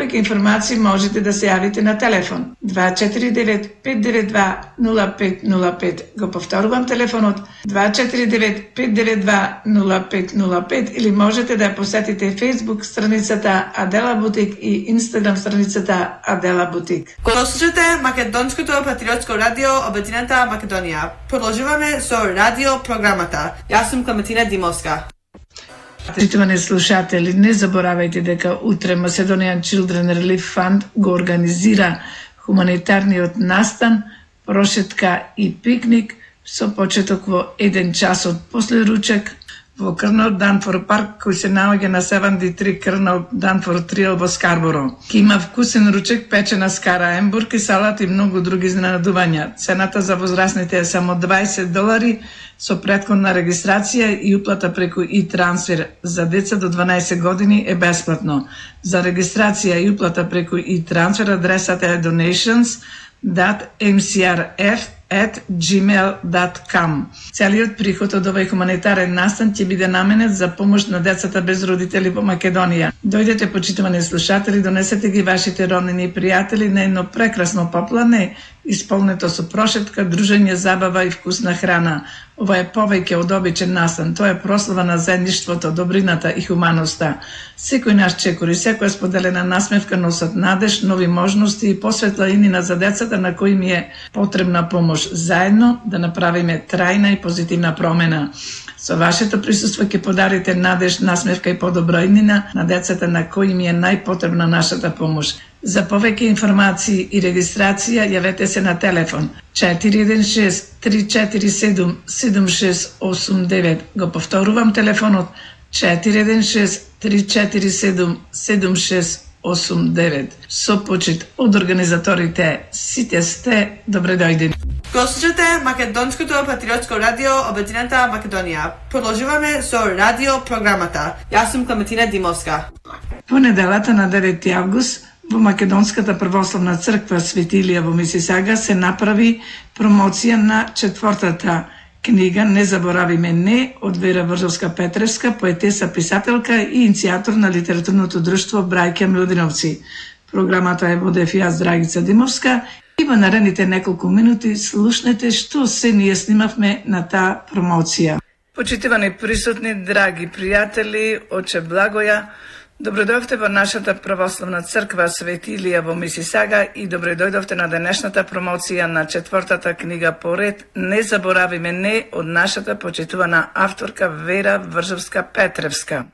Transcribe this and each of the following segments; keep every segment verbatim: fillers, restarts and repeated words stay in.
повеќе информации можете да се јавите на телефон два четири девет пет девет два нула пет нула пет. Го повторувам телефонот два четири девет пет девет два нула пет нула пет или можете да ја посетите Facebook страницата Адела Бутик и Instagram страницата Адела Бутик. Кога слушате Македонското патриотско радио Обединета Македонија, продолжуваме со радио програмата. Јас сум Клементина Димовска. Почитувани слушатели, не заборавајте дека утре Macedonian Children Relief Fund го организира хуманитарниот настан, прошетка и пикник со почеток во еден час од после ручек во Крнал Данфор парк, кој се наоѓа на седумдесет и три Крнал Данфор Триел во Скарборо. Ке има вкусен ручек, печена скара, ембург, салат и многу други изненадувања. Цената за возрастните е само дваесет долари со претходна регистрација и уплата преку и трансфер. За деца до дванаесет години е бесплатно. За регистрација и уплата преку и трансфер адресата е donations dot m c r f at gmail dot com. Целиот приход од овој хуманитарен настан ќе биде наменет за помош на децата без родители во Македонија. Дојдете, почитувани слушатели, донесете ги вашите роднини и пријатели на едно прекрасно поплане, исполнето со прошетка, дружење, забава и вкусна храна. Ова е повеќе од обичен настан, тоа е прослава на заедништвото, добрината и хуманоста. Секој наш чекор и секоја споделена насмевка носат надеж, нови можности и посветла инина за децата на кои ми е потребна помош. Заедно да направиме трајна и позитивна промена. Со вашето присуство ќе подарите надеж, насмевка и подобра иднина на децата на кои ми е најпотребна нашата помош. За повеќе информации и регистрација јавете се на телефон четири еден шест три четири седум седум шест осум девет. Го повторувам телефонот четири еден шест три четири седум седум шест осум девет. Со почит од организаторите, сите сте добре дојдени. Го слушате Македонското патриотско радио Обединета Македонија. Продолжуваме со радио програмата. Јас сум Клементина Димовска. Понеделата на девети август во Македонската православна црква Свети Илија во Мисисага се направи промоција на четвртата книга Не заборавиме не од Вера Вржовска-Петревска, поетеса, писателка и иницијатор на литературното друштво Браќа Милодиновци. Програмата е водев јас, Драгица Димовска, и во наредните неколку минути слушнете што се ние снимавме на таа промоција. Почитувани присутни, драги пријатели, оче Благоја, добредојдовте во нашата православна црква Свети Илија во Мисисага и добредојдовте на денешната промоција на четвртата книга поред Не заборавиме не од нашата почитувана авторка Вера Вржовска-Петревска.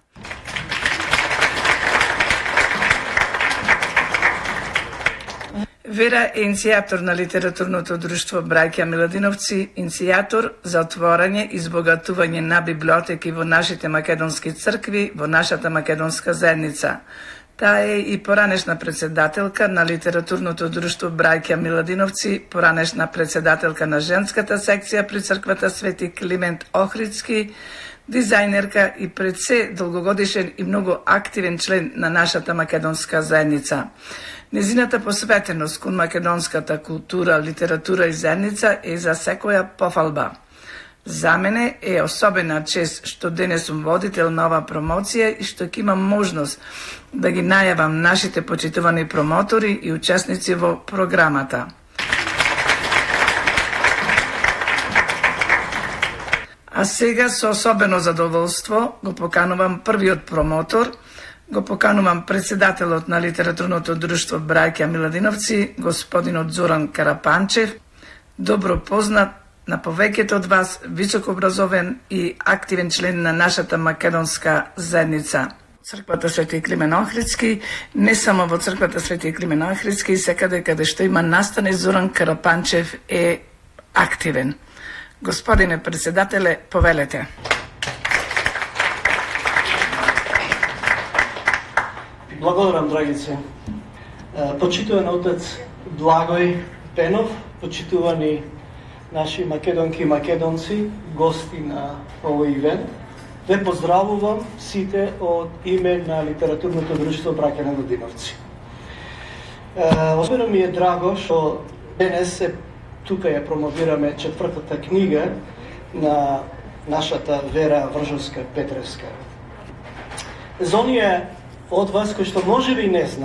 Вера е иницијатор на литературното друштво Браќа Милодиновци, иницијатор за отворање и избогатување на библиотеки во нашите македонски цркви, во нашата македонска заедница. Таа е и поранешна председателка на литературното друштво Браќа Милодиновци, поранешна председателка на женската секција при црквата Свети Климент Охридски, дизајнерка и пред се долгогодишен и многу активен член на нашата македонска заедница. Незината посветеност кон македонската култура, литература и заедница е за секоја пофалба. За мене е особена чест што денес сум водител на ова промоција и што ќе имам можност да ги најавам нашите почитувани промотори и учесници во програмата. А сега со особено задоволство го поканувам првиот промотор, го поканувам председателот на литературното друштво Браќа Милодиновци, господинот Зоран Карапанчев, добро познат на повеќето од вас, високообразовен и активен член на нашата македонска заедница. Црквата Свети Климен Охридски, не само во црквата Свети Климен Охридски, и секаде каде што има настане, Зоран Карапанчев е активен. Господине председателе, повелете. Благодарам, Драгице. Почитуван отец Благој Пенов, почитувани наши македонки и македонци, гости на овој ивент, ве поздравувам сите од име на литературното друштво Браќа Милодиновци. Особено ми е драго што денес се тука ја промовираме четвртата книга на нашата Вера Вржовска-Петревска. За оние од вас кои што можеби не знаат,